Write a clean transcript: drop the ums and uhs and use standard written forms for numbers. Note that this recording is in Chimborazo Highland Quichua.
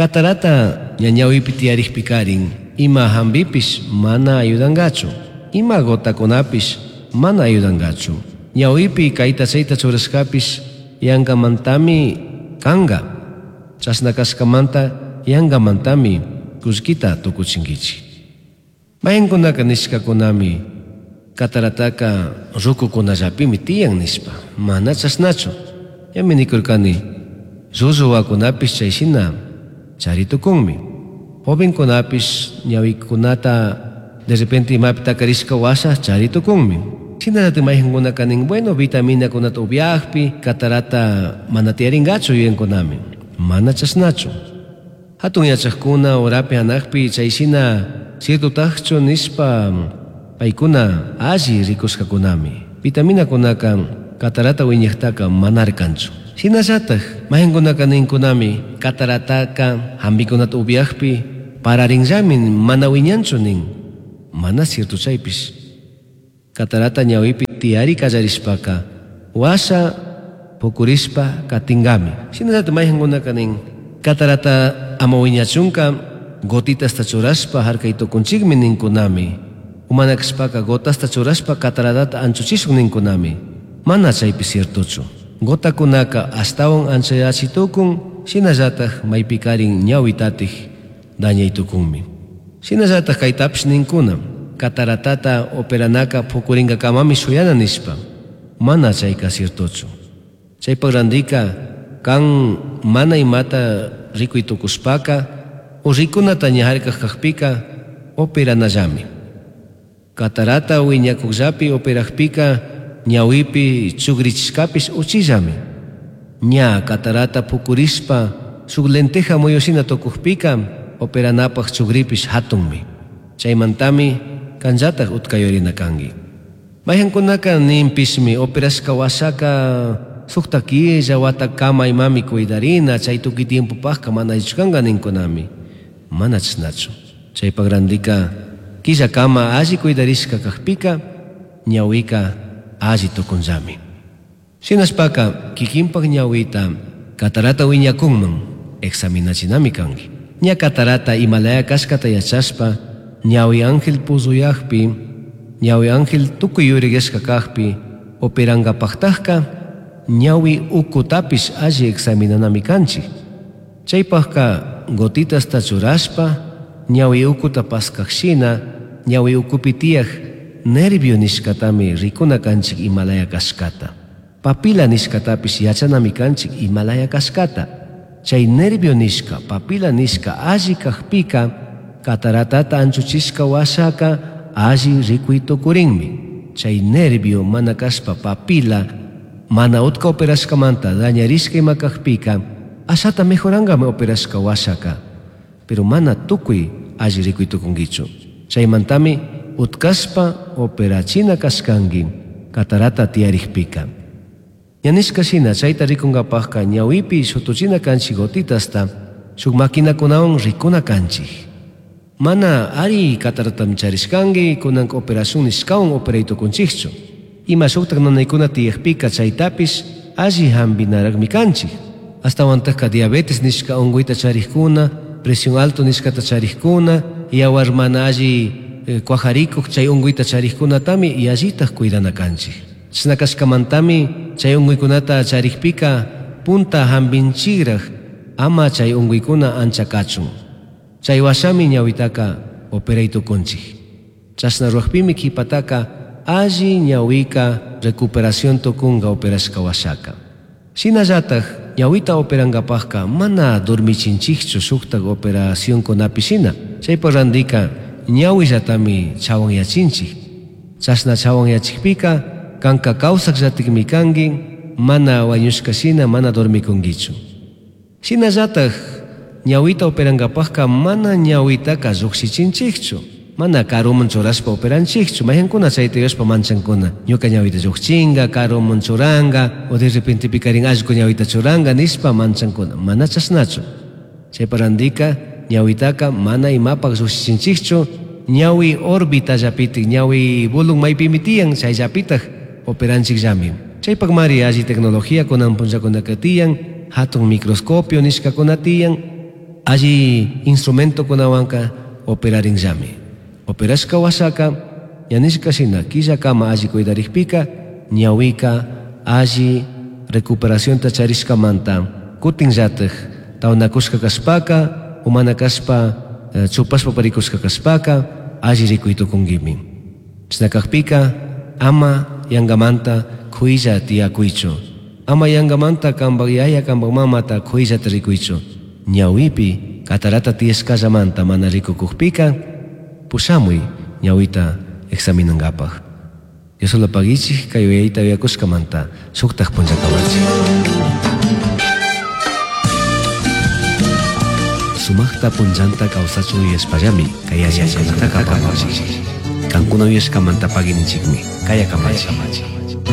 Catarata ña ñahuipi tiyarijpicarin ima hambipish mana ayudangachu. Ima gotacunapish mana ayudangachu. Ñahuipi caita chaita churashcapish yangamantami canga. Chashna cashcamanta yangamantami cullquita tucuchinguichij. Mayqinkunaka nishcacunami catarataka rucucunallapimi tiyan nishpa. Mana chashnachu. Ñami nicurcani, llullu huacunapish chay shina chari tucunmi. Jovencunapish ñahuicunata de repente imapi tacarishca huasha chari tucunmi. Shinallatak mayqinkunaka nin, bueno, vitaminacunata upiajpi catarata mana tiyaringachu yuyancunami. Mana chashnachu. Hatun yachajkuna urapi hanajpi chay shina ciertotajchu nishpa paykuna alli rikushkakunami. Vitaminakunaka catarata wiñajtaka mana arkanchu. Shinallatak mayqinkunaka ninkunami catarataka hambikunata upiajpi pararinllami mana wiñanchu nin. Mana cierto chaypish. Catarata ñawipi tiyari kallarishpaka washa pukurishpa katingami. Shinallatak mayqinkunaka nin catarata ama wiñachunka gotitasta churashpa harkay tukunchikmi ninkunami. Mana kashpaka gotasta churashpa cataratata anchuchishun ninkunami. Mana chaypi ciertochu. Gotakunaka ashtawan anchayachi tukun, shinallatak maypikarin ñawitatik dañay tukunmi. Shinallatak kaytapish ninkuna, cataratata operanaka pukurinkakamami shuyana nishpa. Mana chayka ciertochu. Chaypak randika kan mana imata rikuy tukushpaka o rikunata ña harkaj kajpika operanallami. Catarata wiñakukllapi operajpika ñawipi chugrichishkapish uchillami. Ña catarata pukurishpa shuk lenteja muyushina tukujpika operanapaj chugripish hatunmi. Chaymantami kanllatak utkayurina kanki. Mayqinkunaka ninpishmi operashka washaka sukta killa watakama imami cuidarina chay tukuy tiempopajka mana allichu kanka ninkunami. Mana chashnachu. Chaypak randika killakama alli cuidarishka kajpika ñawika alli tukunllami. Shinashpaka kikinpak ñawita catarata wiñakunman examinachinami kanki. Ña catarata imalaya kashkata yachashpa ñawi ángel puzuyajpi ñawi ángel tukuy yuriyashka kajpi operankapajtajka ñawi ukutapish alli examinanami kanchik. Chaypajka gotitasta churashpa ñawi ukuta paskajshina ñawi ukupi tiyaj nervio nishkatami rikuna kanchik imalaya kashkata. Papila nishkatapish yachanami kanchik imalaya kashkata. Chay nervio nishka, papila nishka alli kajpika cataratata anchuchishka washaka alli rikuy tukurinmi. Chay nervio mana kashpa papila mana utka operashkamanta dañarishka ima kajpika ashata mejorangami operashka washaka. Pero mana tukuy alli rikuy tukunkichu. Chaymantami utkashpa operachina kashkanki catarata tiyarijpika. Ña nishka shina chayta rikunkapajka ñawipi shutuchina kanchik gotitasta shuk maquinakunawan rikuna kanchik. Mana ari cataratami charishkanki kunanka operación nishkawan operay tukunchikchu. Ima shuktak nanaykuna tiyajpika chaytapish alli hampinarakmi kanchik. Ashtawantajka diabetes nishka unkuyta charikuna, presión alto nishkata charikuna, yawar mana alli kuajarikuj chay unkuyta charikkunatami yallitaj cuidana kanchik. Chashna kashkamantami chay unkuykunata charikpika punta hampinchikraj ama chay unkuykuna ancha kachun. Chay washami ñawitaka operay tukunchik. Chashna ruwajpimi kipataka alli ñawika recuperación tukunka operashka washaka. Shinallatak ñawita operankapajka mana dormichinchikchu shuktak operacionkunapi shina. Chaypak randika ñawillatami chawanyachinchik. Chashna chawanyachikpika kanka kawsakllatikmi kanki, mana wañushka shina mana dormikunkichu. Shinallatak ñawita operankapajka mana ñawitaka llukshichinchikchu. Mana karuman churashpa operanchikchu. Mayqankuna chayta yuyashpa manchankuna. Ñuka ñawita llukchinga, karuman churanka, o de repente pikarin allqu ñawita churanka nishpa manchankuna. Mana chashnachu. Chaypa randika ñawitaka mana imapak llukshichinchikchu. Ñawi orbitallapitik, ñawi bulun maypimi tiyan, chayllapitak operanchikllami. Chaypakmari alli tecnología kunan punllakunaka tiyan, hatun microscopio nishkakuna tiyan. Alli instrumentokunawanka operarinllami. Operashka huashaka ña nishka shina killakama alli cuidarikpika ñahuika alli recuperacionta charishkamanta kutinllatik tawnakushka kashpaka o mana kashpa chupashpa parikushka kashpaka alli rikuy tukunkimi. Chashna kakpika ama yankamanta kuylla tiyakuychu. Ama yankamanta kanpak yaya kanpak mamata kuyllata rikuychu. Ñawipi catarata tiyashkallamanta mana rikukukpika pushamuy ñawita examinankapak. Dios paguichik kay uyayta uyakushkamanta shuktak punllakamachik. Sumaqta punllanta kawsachun yuyashpallami kay yachaykunataka apamachik. Kankuna uyashkamanta paguininchikmi kaya kamachik.